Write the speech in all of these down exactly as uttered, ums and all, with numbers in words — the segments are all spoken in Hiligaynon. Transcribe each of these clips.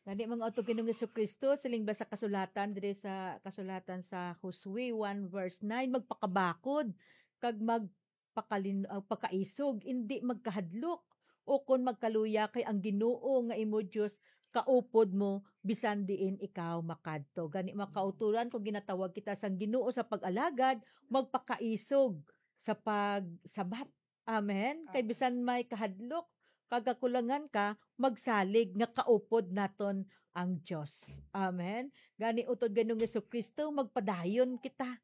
Gani, mga utod, Ginoong Jesu-Cristo, siling ba sa kasulatan, diri sa kasulatan sa Josue one verse nine, "Magpakabakod kag magpakalin-, ah, pakaisog, indi magkahadlok, ukon magkaluya, kay ang Ginoo nga imo Dios kaupod mo bisan diin ikaw makadto." Gani, mga kauturan, kung ginatawag kita sang Ginoo sa pag-alagad, magpakaisog sa pagsabat. Amen. Kay Amen. Bisan may kahadlok kag kakulangan ka, magsalig nga kaupod naton ang Dios. Amen. Gani, utod, Ginoong Jesu-Cristo, magpadayon kita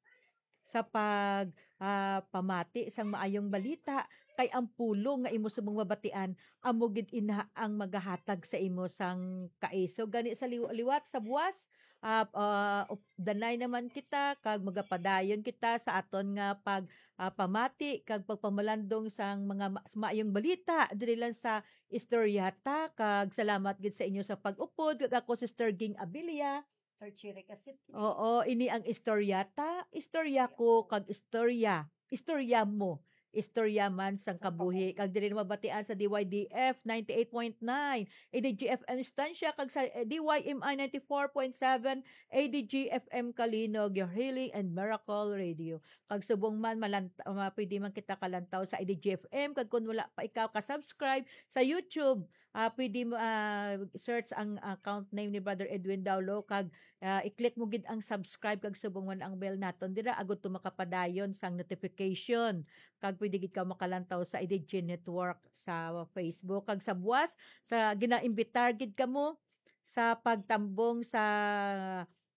sa pag, ah, pamati sang maayong balita, kay ang pulong nga imo subong mabatian, amo gid ina ang magahatag sa imo sang kaisog. Gani, sa liw-, liwat sa buwas, ah, ah, danay naman kita kag magapadayon kita sa aton nga pag, ah, pamati kag pagpamalandong sang mga ma-, maayong balita diri lang sa Istorya Ta. Kag salamat gid sa inyo sa pag-upod. Kag ako, Sister Ging Abilia. Sir Chiri Kasit. Oo, ini ang Istorya Ta, istorya ko, kag istorya, istorya mo, istorya man sang kabuhi. Kag diri na mabatian sa D Y D F ninety-eight point nine, A D G F M Estancia, kag sa, eh, D Y M I ninety-four point seven, A D G F M Calinog, your healing and miracle radio. Kag subong man, malanta-, ma-, pwede man kita kalantaw sa A D G F M. Kag kung wala pa ikaw ka-subscribe sa YouTube, ah, pwede mo, ah, search ang account name ni Brother Edwin Daulo, kag, ah, i-click mo gid ang subscribe, kag subong man ang bell naton dira, agud to makapadayon sang notification. Kag pwede gid ka makalantaw sa A D G Network sa Facebook. Kag sa buwas, sa ginaimbitar gid kamo sa pagtambong sa,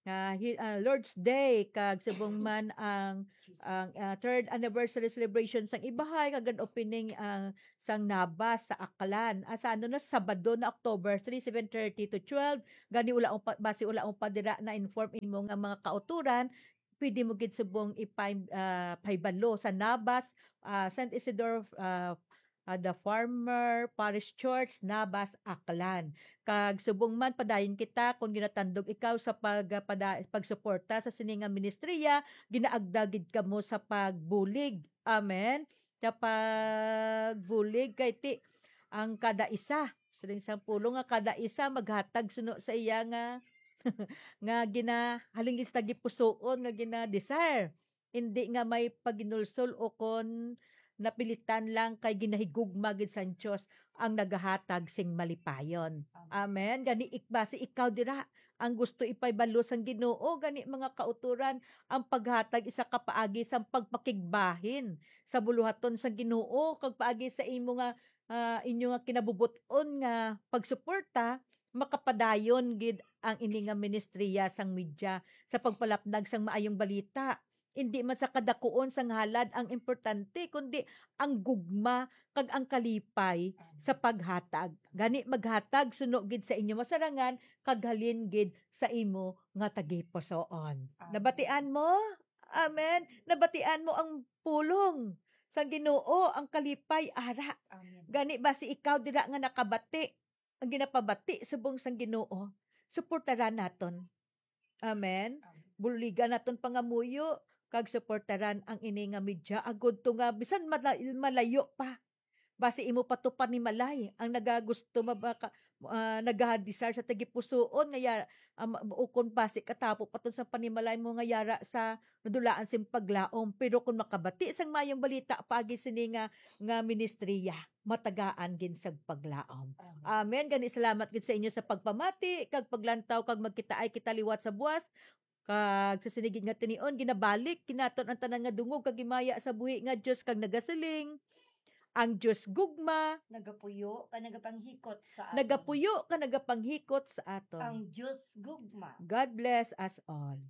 ah, hi-, ah, Lord's Day, kag subong man ang, ang, ah, third anniversary celebration sang Ibahay, kag grand opening, ah, sang Nabas sa Aklan. Ah, sa ano na, Sabado na, October three, seven thirty to twelve. Gani, wala mo pa, basi wala mo pa dira na-inform imo nga mga kauturan, pwede mo gid subong ipay-, ah, pahibalo sa Nabas, ah, Saint Isidore, ah, ah, the former Parish Church, Nabas, Aklan. Kag subong man, padayon kita, kung ginatandog ikaw sa pag-, ah, pada-, pagsuporta sa sini nga ministriya, ginaagda gid kamo sa pagbulig. Amen. Sa pagbulig kay ti ang kada isa, siling sang pulong nga kada isa maghatag suno sa iya nga, nga gina-, halin gid sa tagipusoon nga gina-desire. Hindi nga may paginulsol o kon napilitan lang kay ginahigugma gid sang Dios ang nagahatag sing malipayon. Amen. Amen. Gani ik-, basi ikaw dira ang gusto ipahibalo sang Ginoo, gani mga kauturan, ang paghatag isa ka paagi sang pagpakigbahin sa buluhaton sang Ginoo, kag paagi sa imo nga, ah, inyo nga kinabubot-on nga pagsuporta, makapadayon gid ang ini nga ministriya sang media sa pagpalapnag sang maayong balita. Indi man sa kadakuon sang halad ang importante, kundi ang gugma kag ang kalipay sa paghatag. Gani, maghatag suno gid sa inyo masarangan kag halin gid sa imo nga tagipusoon. Amen. Nabatian mo? Amen. Nabatian mo ang pulong sang Ginoo, ang kalipay, ara. Amen. Gani, basi ikaw dira nga nakabati ang ginapabati subong sang Ginoo, suportaran naton. Amen. Amen. Buligan naton pangamuyo kag suportaran ang ini nga media, agud to nga bisan mala-, malayo pa. Basi imo pa to panimalay ang nagagusto mabaka-, ah, nagahadisar sa tagipusoon nga ya-, ah, ma-, ukon basi katapo pa to sa panimalay mo nga yara sa nadulaan sing paglaom. Pero kung makabati sang mayong balita paagi sini nga, nga ministriya, matagaan gid sa paglaom. Amen. Amen. Gani, salamat gid sa inyo sa pagpamati kag paglantaw, kag magkitaay kita liwat sa buwas. Kag sa sini gid nga tinion, ginabalik kanaton ang tanan nga dungog kag himaya sa buhi nga Dios, kag nagasiling, ang Dios gugma. Nagapuyo ka, nagapanghikot sa aton. Nagapuyo ka, nagapanghikot sa aton. Ang Dios gugma. God bless us all.